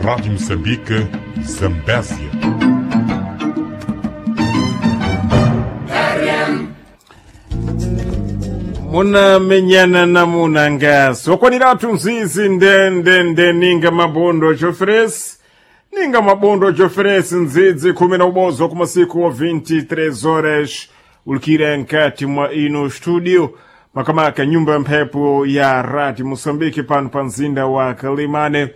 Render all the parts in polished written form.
Rádio Moçambique, Zambésia. Munamenyana namunanga sokwaniratu nzizi ndendende ninga mabondo choferesi, ninga mabondo choferesi ndzidzi 11 kumasiku wa 23 horas ulikira nkati mwa ino studio makamaka nyumba ya mphepo ya Radio Moçambique pano pa mzinda wa Kalimane.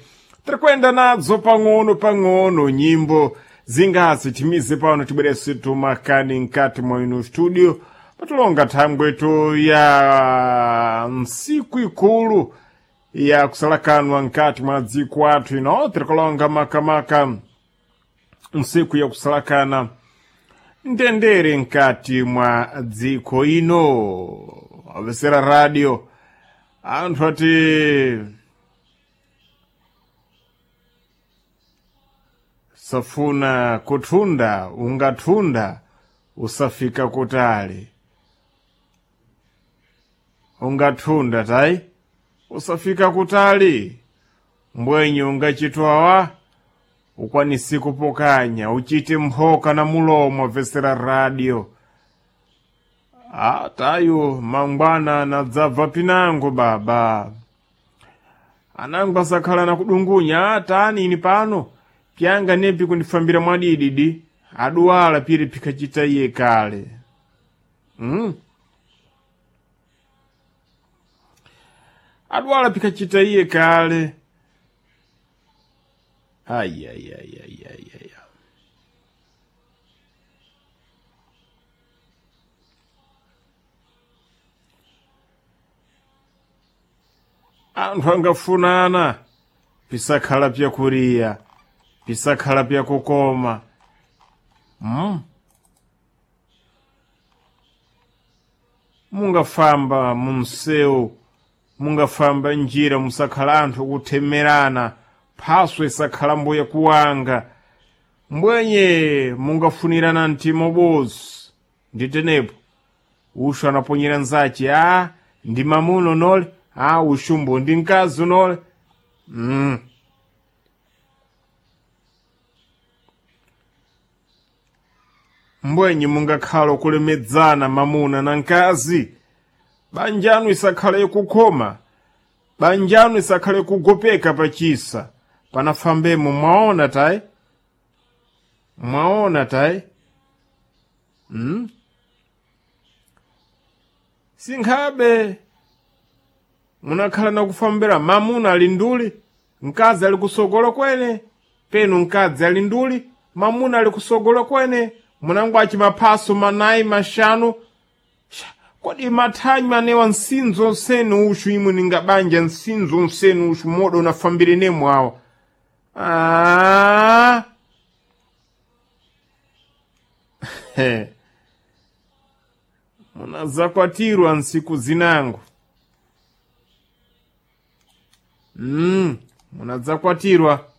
Tirikwenda nadzo pang'ono pang'ono nyimbo zingasi timize pano tibwerese tumakani nkati mwa ino studio patulonga thangweto ya ntsiku ikulu ya kusalakanwa nkati mwa dziko athu ino tirikulonga makamaka ntsiku ya kusalakana ndendere nkati mwa dziko ino. Avesera radio anthu ati safuna kuthunda ungathunda usafika kutali, ungathunda tayi usafika kutali, mbwenye ungachitwawa ukwanisi kupokanya uchite mphoka na mulomo. Vesera radio tayo mangwana nadzabva pinango baba anango asakhala na kudungunya tani ini pano pyanga nepi kundifambira mwadididi aduwala piri pikachita iye kale. Aduwala pikachita iye kale. Ayayayayaya, anthu angafunana pisakhala pyakuriya pisakhala pyakukoma. Mungafamba mumsewu, mungafamba njira musakhala anthu kuthemerana, phaswe isakhala mbuye kuwanga, mbwenye mungafunirana mtima ubozi. Nditenepo ushu anaponyera nzachi, a ndi mamuno nole, a ushumbo ndi mkazi unole. Mbwenye mungakhala kulemedzana mamuna na mkazi, banjanu isakhale kukhoma, banjanu isakhale kugopeka pachisa panafambemo. Mwaona tayi, mwaona tayi. Sinkhabe munakhala nakufambira mamuna ali nduli, mkazi ali kusogolo kwene, penu mkazi ali nduli, mamuna ali kusogolo kwene, munangwachi maphaso manayi mashanu. Kodi mathanywa anewa nsinzo nsenu ushu imwe ningabanja nsinzo nsenu ushu modo unafambire nemwe awa. Ah. Munazakwatirwa nsiku zinango. Munadzakwatirwa.